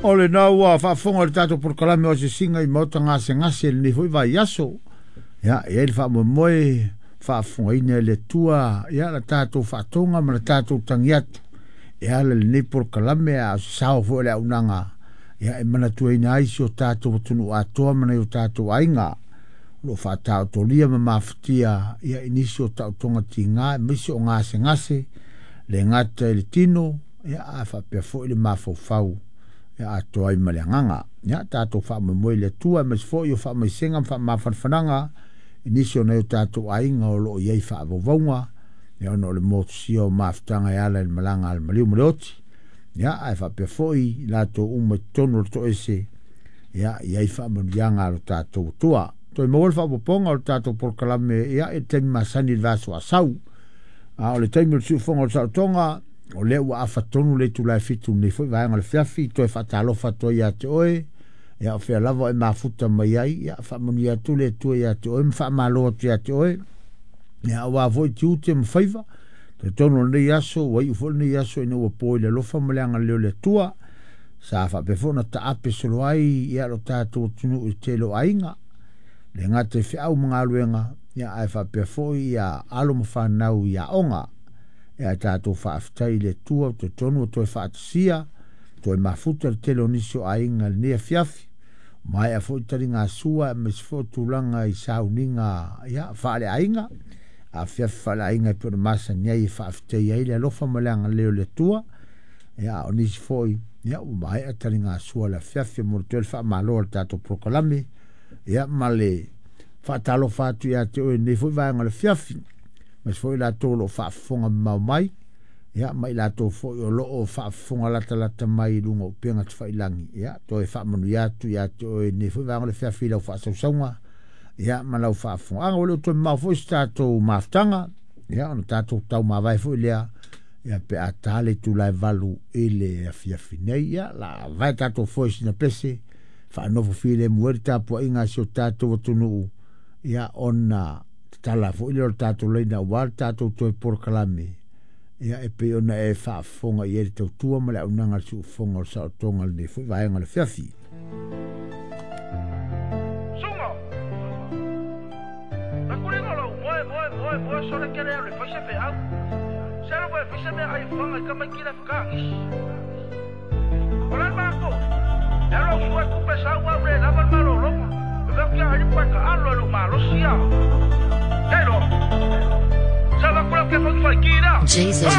O lena ua faafofoga i le tatou polokalame o Asiasiga i Maota Gasegase i lenei foi vaiaso. Ia, e i ai le faamoemoe faafofogaina e le Atua ia la tatou faatoga ma le tatou tagi atu e ala i lenei polokalame a o se sao foi o le auaunaga ia e manatuaina ai si o tatou atunuu atoa ma nai o tatou aiga o lo o faataotolia ma mafatia ia i nisi o taotoga tiga aemaise o gasegase le gata i le tino ia a faapea foi le mafaufau ia atoa ai ma le agaga. Ia tatou faamoemoe i le Atua aemaise foi o faamaisega ma faamafanafanaga i nisi o nai o tatou aiga o lo o i ai faavauvauga ia ona o le motusia o mafutaga e ala i le malaga a le maliu ma le oti. Ia ae faapea foi i latou uma i totonu o le toese ia i ai faamanuiaga a lo tatou Atua. Toe maua le faaopoopoga o le tatou polokalame ia i le taimi masani i le vaiaso a sau. A o le taimi o le siufofoga o le saotoga, o lea ua afa tonu le itula e 7 lenei foi vaega o le afiafi, toe faatalofa atu ai ia te oe, ia o fea lava e mafuta mai ai, ia faamanuia atu le Atua ia te oe ma faamalo atu ia te oe, ia aua foi tiute ma faiva, talitonu o lenei aso, ua iu foi lenei aso ina ua po i le alofa ma le agalelei o le Atua, sa faapea foi ona taape solo ai ia lo tatou atunuu i le tele o aiga, le gata i feau ma galuega, ia ae faapea foi ia alo ma fanau i aoga. Ia ae tatou faafetai i le Atua, talitonu ua toe faatasia, toe mafuta le tele o nisi o aiga i lenei afiafi, maea foi taligasua aemaise foi o tulaga i sauniga ia faaleaiga, afiafi faaleaiga e pei ona masani ai e faafetai ai le alofa ma le agalelei o le Atua. Ia o nisi foi ia ua maea taligasua le afiafi, mo le toe le faamalo a le tatou polokalame ia ma le faatalofa atu ia te oe i lenei foi vaega o le afiafi, aemaise foi i latou o lo o faafofoga mamao mai, ia ma i latou foi o lo o faafofoga latalata mai i luga o upega tafailagi, ia toe faamanuia atu ia te oe i lenei foi vaega o le afiafi i lau faasausauga ia ma lau faafofogaaga. Ua le o toe mamao foi se tatou mafutaga, ia ona tatou taumavae foi lea ia pe a ta le itula e 8 i le afiafi nei, ia la vae tatou foe sina pese faanofo filemu ai le tapuaiga a si o tatou atunuu, ia ona tatala foi lea o le tatou laina aua le tatou toe polokalame, ia e pei ona e faafofoga i ai le tautua ma le auaunaga a le siufofoga o le saotoga i lenei foi vaega o le afiafi. Suga! Takulina lou moe, moe, moe, moe, sole kele au le fai se feau. Se alo moe fai se mea ai fanga i kamaiki le whakaangisi. O le mako, e alo au sua e kupe sau au le lava le malologa. E veo kia ali pa ka alo e lo malosi a. Kei loa. Sa va kula ke fai fai ki la. Jesus.